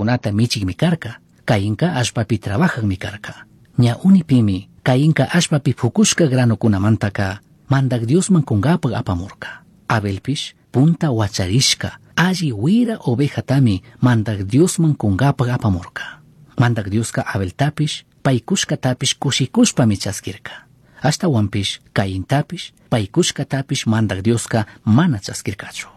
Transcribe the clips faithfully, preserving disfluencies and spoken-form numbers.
Ovejacunata michijmi carca. Cainca allpapi trabajajmi carca. Ña unipimi Cainca allpapi fucushca granocunamantaca Mandaj Diosman cungapaj apamurca. Abelpish punta huacharishca alli huira ovejatami Mandaj Diosman cungapaj apamurca. Mandaj Diosca Abeltapish paicushcatapish cushicushpami chasquirca. Ashtahuanpish Caintapish paicushcatapish Mandaj Diosca mana chasquircachu.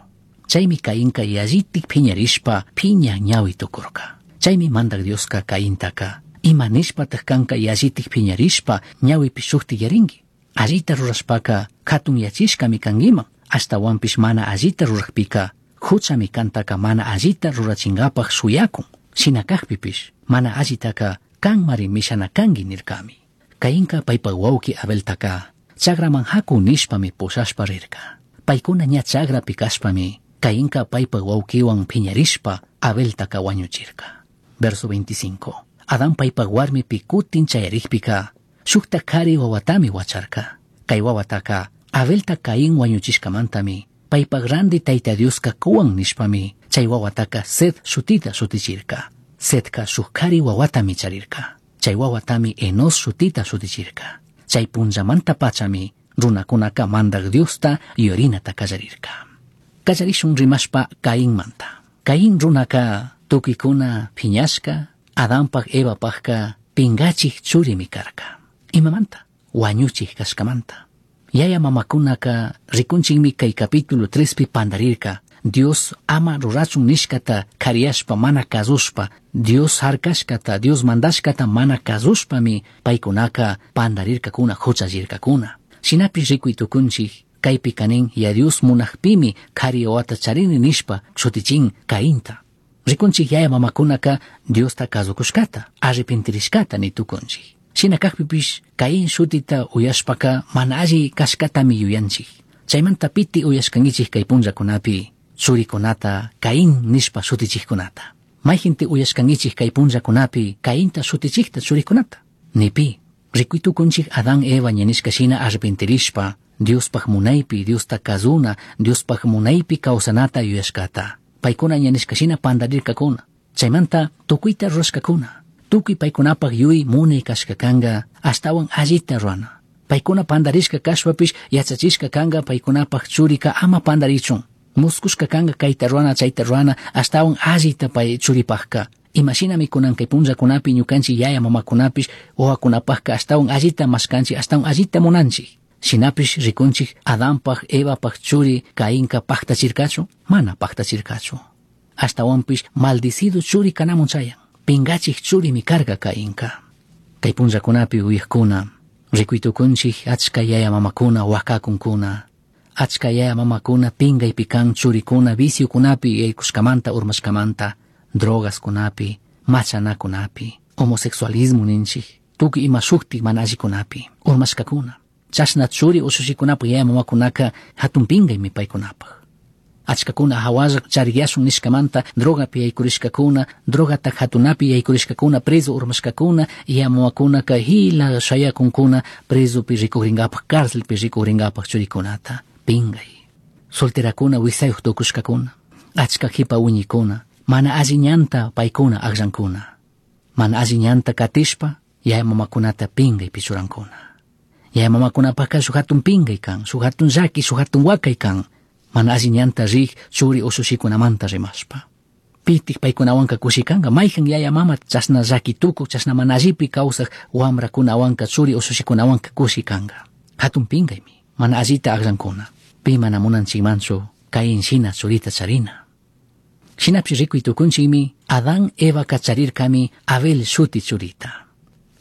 Chaimi Cainca yallitic piñarishpa piña ñahui tucurca. Chaimi Mandaj Diosca Caintaca ima nishpataj canca yallitic piñarishpa ñahuipish shujtiyaringui. Allita rurashpaca jatunyachishcami canguiman. Ashtahuanpish mana allita rurajpica juchami cantaca mana allita rurachingapaj shuyacun. Shina cajpipish mana allitaca canmari mishana cangui nircami. Cainca paipa huauqui Abeltaca chagraman jacu nishpami pushashpa rirca. Paicuna ña chagrapi cashpami Cainca paipa huauquihuan piñarishpa Abeltaca huañuchirca. Verso veinticinco. Adán paipa huarmipi cutin chayarijpica shujta cari huahuatami huacharca. Cai huahuataca Abelta Caín huañuchishcamantami paipa grande Taita Diosca cuwan nishpami chay huahuataca Set shutita shutichirca. Setca shuj cari huahuatami charirca. Chay huahuatami Enos shutita shutichirca. Chay punllamanta pachami runacunaca Mandaj Diosta yurinata callarirca. Callarishun rimashpa Cainmanta. Caín runaca tucuicuna piñashca, Adanpaj Evapajca pingachij churimi carca. Imamanta? Huañuchij cashcamanta. Yaya mamacunaca ricunchikmi kay capítulo trespi pandarirca. Dios ama rurachun nishkata kariyashpa mana kazushpa, Dios harkashkata, Dios mandashkata mana kazushpami paykunaka pandarirkakuna, huchallirkakuna. Shinapish rikuy tukunchik kaypi kanin ya Dios munajpimi kari wawata charini nishpa shutichin Cainta. Rikunchik yaya mamakunaka Diosta kazukushkata, arrepentirishkata ni tukunchik. Shina kajpipish Caín shutita uyashpaka mana alli kashkatami yuyanchik. Chaymanta piti uyashkankichik kay punllakunapi churikunata Caín nishpa shutichikkunata. Mayjinti uyashkankichik kay punllakunapi Cainta shutichikta churikunata. Nipi, rikuy tukunchik Adán Eva ña nishka shina arrepentirishpa Diospaj munaypi, Diosta kazuna, Diospaj munaypi kawsanata yuyashkata. Paykuna ña nishka shina pandarirkakuna. Chaymanta tukuyta rurashkakuna. Tukuy paykunapaj yuy munay kashka kanga ashtawan allita rurana. Paykuna pandarishka kashpapish yachachishka kanga paykunapaj churika ama pandarichun. Muskushka kanga kayta rurana chayta rurana ashtawan allita pay churipajka. Imashinami kunan kay punllakunapi ñukanchik yaya mamakunapish wawakunapajka ashtawan allita mashkanchik ashtawan allita munanchik. Shinapish rikunchik Adanpaj Evapaj churi Cainka pajtachirkachu? Mana pajtachirkachu. Ashtawanpish maldicido churi kanamun chayan. Pingachik churimi karka Cainka. Kay punllakunapi uyajkuna rikuy tukunchik achka yaya mamakuna wakakunkuna. Achka yaya mamakuna pingaypi kan churikuna viciokunapi yaykushkamanta urmashkamanta, drogaskunapi, machanakunapi, homosexualismo ninchik, tukuy ima shuktik mana allikunapi, urmashkakuna. Chashna churi ushushikunapaj yaya mamakunaka hatun pingaymi paykunapaj. Achkakuna hawalla chariyashun nishkamanta drogapi yaykurishkakuna, drogata hatunapi yaykurishkakuna, preso urmashkakuna, yaya mamakunaka hila shayakunkuna presopi rikukrinkapaj, cárcelpi rikukrinkapaj churikunata. Pingay. Solterakuna wisayuq tukushkakuna, achka jipa wiñikuna, mana alli ñanta paykuna akllankuna. Mana alli ñanta katishpa yaya mamakunata pingaypi churankuna. Yaya mamakunapajka shuk hatun pingay kan, shuk hatun llaki, shuk hatun wakay kan, mana alli ñanta rik churi ushushikunamanta rimashpa. Pitik paykunawanka kushikanka, mayjan yaya mama chashna llaki tukuk, chashna mana allipi kawsaj wamrakunawanka churi ushushikunawanka kushikanka. Hatun pingaymi, mana allita akllankuna. Pi mana munanchikmanchu Caín shina churita charina. Shinapish rikuy tukunchikmi Adán Evaka charirkami Abel shuti churita.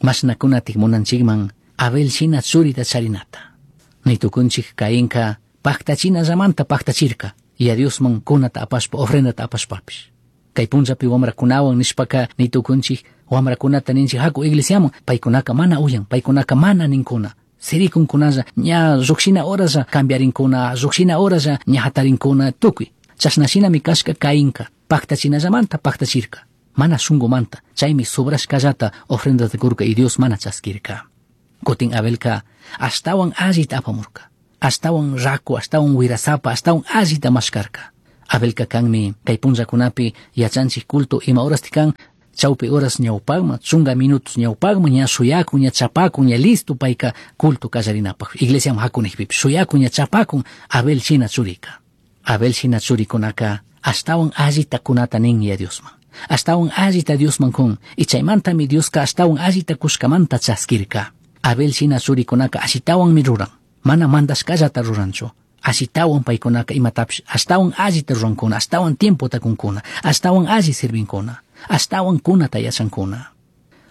Mashnakunatik munanchikman Abel shina churita charinata. Ni tukunchik Cainka paktachinallamanta paktachirka, ya Diosman kunata apashpa, ofrendata apashpapish. Kay punllapi wamrakunawan nishpaka ni tukunchik wamrakunata ninchik haku iglesiaman, paykunaka mana uyan, paykunaka mana ninkuna. Sirikunkunalla ña llukshina horalla cambiarinkuna, llukshina horalla ña hatarinkuna tukuy. Chashna shinami kashka Cainka, paktachinallamanta paktachirka, mana shunkumanta, chaymi sobrashkallata ofrendata kurka y Dios mana chaskirka. Kutin Abelka ashtawan allita apamurka, ashtawan raku, ashtawan wirasapa, ashtawan allita mashkarka. Abelka kanmi kay punllakunapi yachanchik culto ima horasti kan chawpi horas ñawpaqman chunka minutos ñawpaqman ña shuyakun ña chapakun ña listo payka culto kallarinapaq iglesiaman hakunikpipish shuyakun ña chapakun Abel shina churika. Abel shina churikunaka ashtawan allita kunata nin ya Diosman. Ashtawan allita Diosman kun y chaymantami Dioska ashtawan allita kushkamanta chaskirka. Abel shina churikunaka ashitawanmi ruran. Mana mandashkallata ruranchu. Ashitawan paykunaka imatapish ashtawan allita rurankuna, ashtawan tiempota kunkuna, ashtawan alli sirvinkuna, ashtawan kunata yachankuna.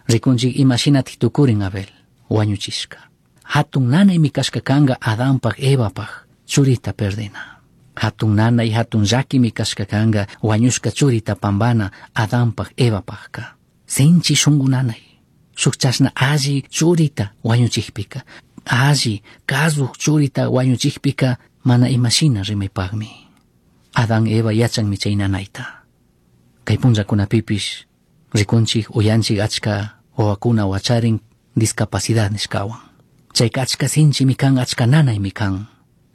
Rikunchik imashinatik tukurin Abel, wañuchishka. Hatun nanaymi kashka kanka Adanpaj Evapaj churita perdina. Hatun nanay hatun llakimi kashka kanka wañushka churita pambana Adanpaj Evapajka. Sinchi shunku nanay. Shuk chashna alli churita wañuchikpika, alli kazuk churita wañuchikpika mana imashina rimaypaqmi. Adán Eva yachanmi chay nanayta. Kay punllakunapipish rikunchik uyanchik achka wawakuna wacharin discapacidad nishkawan. Chayka achka sinchimi kan, achka nanaymi kan.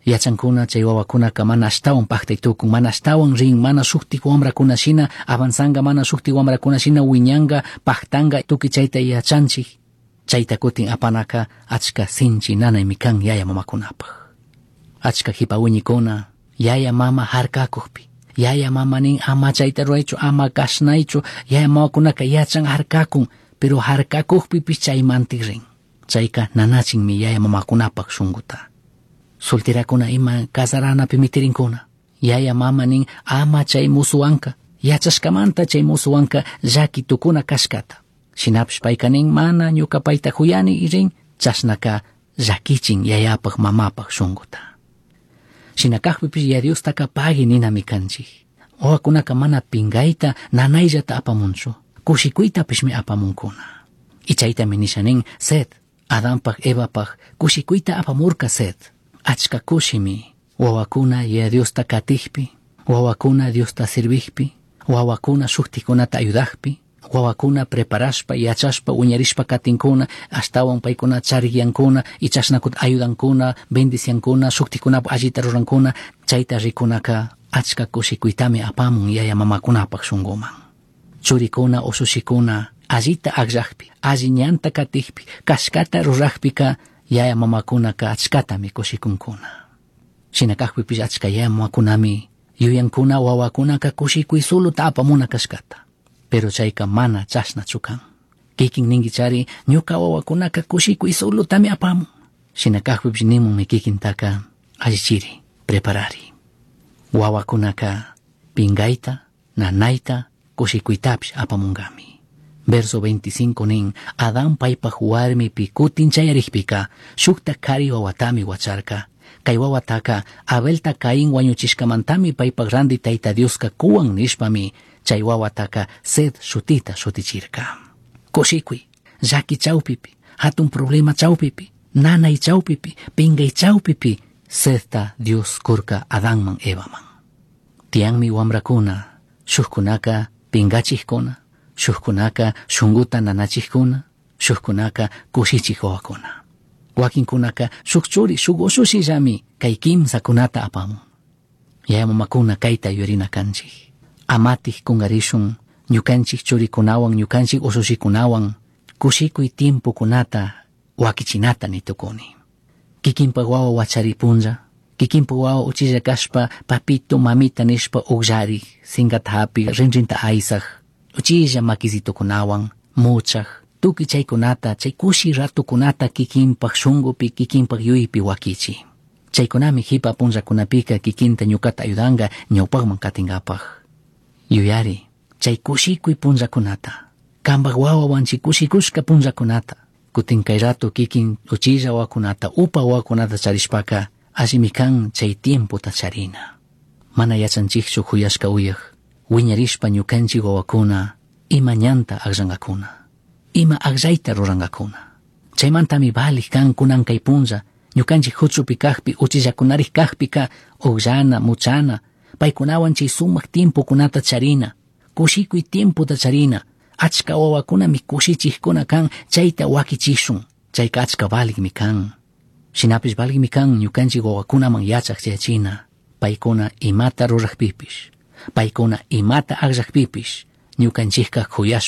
Yachankuna chay wawakunaka mana ashtawan paktay tukun, mana ashtawan rin, mana shuktik wamrakuna shina avanzanga, mana shuktik wamrakuna shina wiñanga, paktanga, tukuy chayta yachanchik. Chayta kutin apanaka achka sinchi nanaymi kan yaya mamakunapaq. Achka hipa wiñikuna yaya mama harkakukpi, yaya mama nin ama chayta ruraychu, ama kashnaychu, yaya mamakunaka yachan harkakun, pero harkakukpipish chaymantik rin. Chayka nanachinmi yaya mamakunapaq shunkuta. Solterakuna ima casaranapi mitirinkuna. Yaya mama nin ama chay musuwanka, yachashkamanta chay musuwanka llaki tukuna kashkata. Shinapish payka nin mana ñuka payta huyani rin, chashnaka llakichin yayapaq mamapaq shunkuta. Shina kakpipish ya Diostaka pagui ninami kanchik. Wawakunaka mana pingayta nanayllata apamunchu, kushikuytapishmi apamunkuna. Y chaytami nisha nin Set, Adanpaj Evapaj kushikuyta apamurka Set. Achka kushimi wawakuna ya Diosta katikpi, wawakuna Diosta sirvikpi, wawakuna shuktikunata ayudakpi, wawakuna preparashpa, yachashpa, wiñarishpa katinkuna, ashtawan paykuna charikyankuna, y chashnakut ayudankuna, bendiciankuna, shuktikunapaj allita rurankuna, chayta rikunaka achka kushikuytami apamun yaya mamakunapaj shunkuman. Churikuna ushushikuna allita akllakpi, alli ñanta katikpi, kashkata rurakpika yaya mamakunaka achkatami kushikunkuna. Shina kakpipish achka yaya mamakunami yuyankuna wawakunaka kushikuy suluta apamuna kashkata. Pero chayka mana chashnachu kan. Kikin ninkichari ñuka wawakunaka kushikuy sulutami apamun. Shina kakpipish nimunmi kikintaka allichiri, preparari. Wawakunaka pingayta, nanayta, kushikuytapish apamunkami. Verso veinticinco nin, Adán paypaj warmipi kutin chayarikpika, shukta kari wawatami wacharka. Kay wawataka Abelta Caín wañuchishkamantami paypaj randi Tayta Dioska kuwan nishpami, chay wawataka Set shutita shutichirka. Kushikuy, llaki chawpipi, hatun problema chawpipi, nanay chawpipi, pingay chawpipi, Setta Dios kurka Adanman Evaman. Tiyanmi wamrakuna, shukkunaka pingachikkuna, shukkunaka shunkuta nanachikkuna, shukkunaka kushichik wawakuna. Wakinkunaka shuk churi, shuk ushushillami kay kimsakunata apamun. Yaya mamakuna kayta yuyarina kanchik. Amatik kungarishun ñukanchik churikunawan, ñukanchik ushushikunawan kushikuy tiempokunata wakichinata nitukuni. Kikinpak wawa wachari punlla, kikinpak wawa uchilla kashpa papito mamita nishpa ukllarik, sinkata hapik, rinrinta aysaj, uchilla makisitukunawan, muchaj, tukuy chaykunata, chay kushi ratukunata kikinpak shunkupi, kikinpak yuyaypi wakichi. Chaykunami hipa punllakunapika kikinta ñukata ayudanka ñawpakman katinkapaj. Yuyari, chay kushikuy punllakunata, kanpak wawawan chay kushikushka punllakunata, kutin kay rato kikin uchilla wawakunata, upa wawakunata charishpaka, allimi kan chay tiempota charina. Mana yachanchikchu huyashka uyak, wiñarishpa ñukanchik wawakuna, ima ñanta akllankakuna, ima akllayta rurankakuna. Chaymantami valik kan kunan kay punlla, ñukanchik huchupi kakpi, uchillakunarik kakpika, ukllana, muchana, paykunawan chay sumak tiempokunata charina, kushikuy tiempota charina, achka wawakunami kushichikkuna kan, chayta wakichishun, chayka achka valikmi kan. Shinapish valikmi kan ñukanchik wawakunaman yachak chayachina, paykuna imata rurakpipish, Paicuna imata agllajpipish ñucanchijca